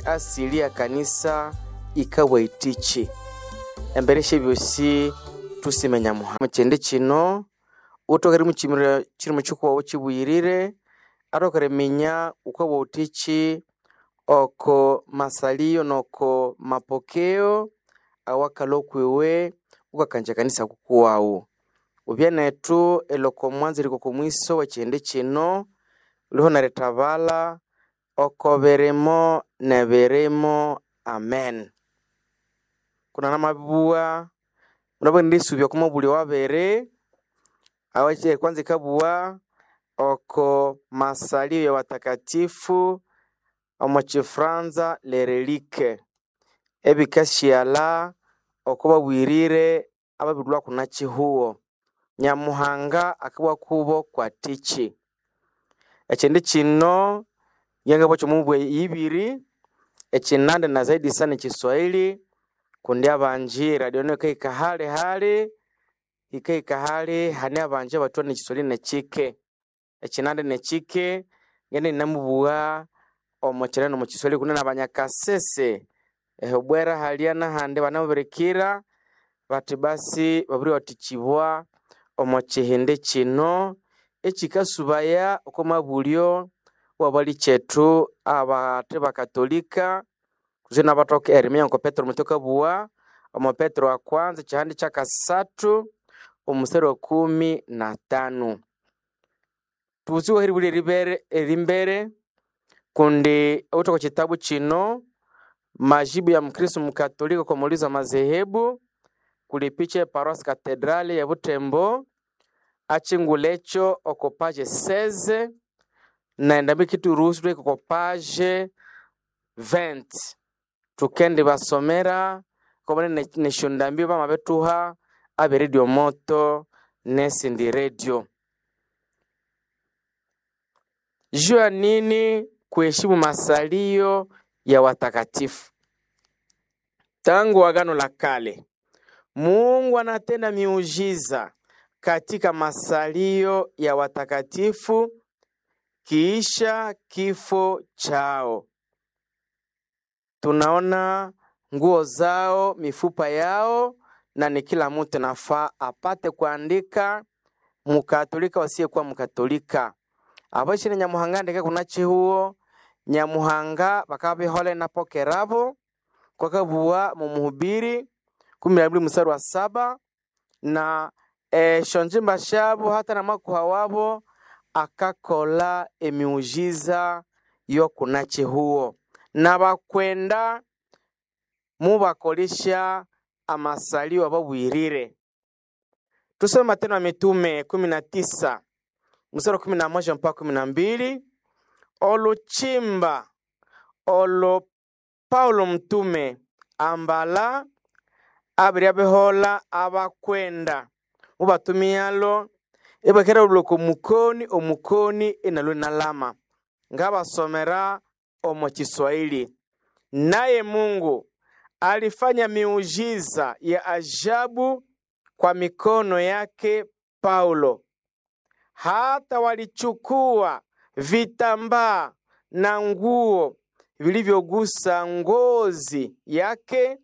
Asili ya kanisa ikawa itichi embere syebyosi tusime Nyamuhanga. Mukyindi kino uthoke erimukyimira kyirimo kikuwawu kyibuyirire, athoke eriminya wukabuwa wuthikyi oko masalio noko mapokeo awakalhwa okwiwe wukakangya ekanisa kukuwawu. Wubye nethu erilhwa oko mwanzo erihika oko mwiso wekyihindi kino, lhuho nerithabalha oko birimo nebirimo, amen. Kuna namabibugha munabwire indi oko mabulyo wabiri awakye kwanza ikabugha oko masalio ya watakatifu omo kifranza les reliques, ebikasighalha oko babuyirire ababirilhwa kuna kihugho. Nyamuhanga akabugha kubo kwathiki. Ekyindi kino ngabugha kyomo mibwe yibiri, ekyinandi na zaidi sana ekyiswahili kundi abangi eradio nayo yikahika hali hali, yikahika hali hane abangi abathwa nekiswahili nekyike. Ekyinandi nekyike ngende inamubugha omo kyinandi nomo kiswahili kundi nabanyakasese ehobwera halya nahandi banamubirikira bathi basi babiriwathikibwa omo kyihindi kino ekyikasubaya oko mabulyo wabalikyethu abathe bakatolika kutse nabathoka eriminya ngoko Petero muthwa akabugha omo Petero wa kwanza ekyihandi kyakasathu omusthali wa 15. Thubutsiwe eribulya eribere erimbere kundi awithe oko kyitabu kino majibu ya mukristo mukatolika kwa maulizo ya mazehebu kuli epicha ye paroisse cathedrale ye Butembo akyingulha ekyo oko page 16 nendambi yikithuruhusu ithwahika oko page 20. Thukendibasomera kobane nesyondambi bamabithuha abe radio moto nesindi radio. Juu ya nini kuheshimu masalio ya watakatifu? Tangu Agano la Kale, Mungu anatenda miujiza katika masalio ya watakatifu kiisha kifo chao. Tunaona nguo zao, mifupa yao, na ni kila mtu nafaa apate kuandika mukatolika wasiyekuwa mukatolika. Aboshine Nyamuhanga ndeke kuna chihuo Nyamuhanga bakabihola inapokerabo kwakabugha mumuhubiri 12 mstari wa 7 na esyonjimba syabo hata namakuha wabo akakola emiujiza yokuna chihuo nabakwenda mubakolesya amasalio ababwirire. Tusome Matendo ya Mitume 19 mstari wa 11 mpaka 12. Oluchimba olo Paulo mtume ambala abiri abihola abakwenda mubatumialo ibakera luloko mukoni omukoni inalwe nalama ngabasomera omo Kiswahili. Naye Mungu alifanya miujiza ya ajabu kwa mikono yake Paulo, hata walichukua vitambaa na nguo vilivyogusa ngozi yake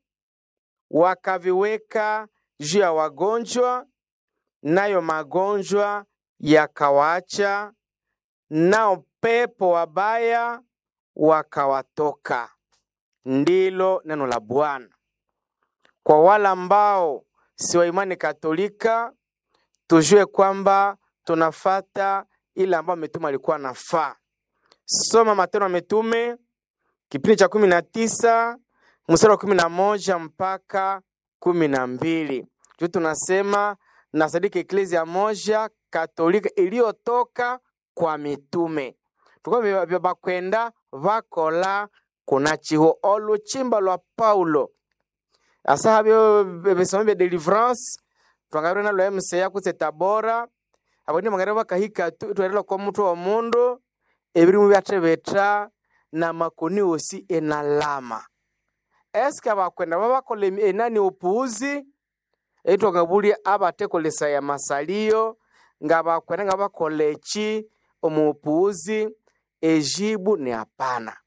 wakaviweka juu ya wagonjwa, nayo magonjwa yakawaacha, nao pepo wabaya wakawatoka. Ndilo neno la Bwana. Kwa wale ambao si wa imani Katolika, tujue kwamba tunafata ile ambayo mitume alikuwa nafaa. Soma Matendo ya Mitume kipindi cha 19 mstari wa 11 mpaka 12. Juu tunasema na sadiki eklezia moja Katolika iliyotoka kwa mitume tuko bakwenda bakola kuna chiho oluchimba lwa Paulo asa byo bisomo bya deliverance twangabire nalwo MCA kutse Tabora abandi bangabire bakahika twerela kwa mutwe wa mundu ebirimu byathebetha na makoni wosi enalama. Eske abakwenda babakola enani opuuzi etwangabulya abatekolesaya masalio nga bakwenda nga bakola eki omu opuuzi ejibu ni hapana.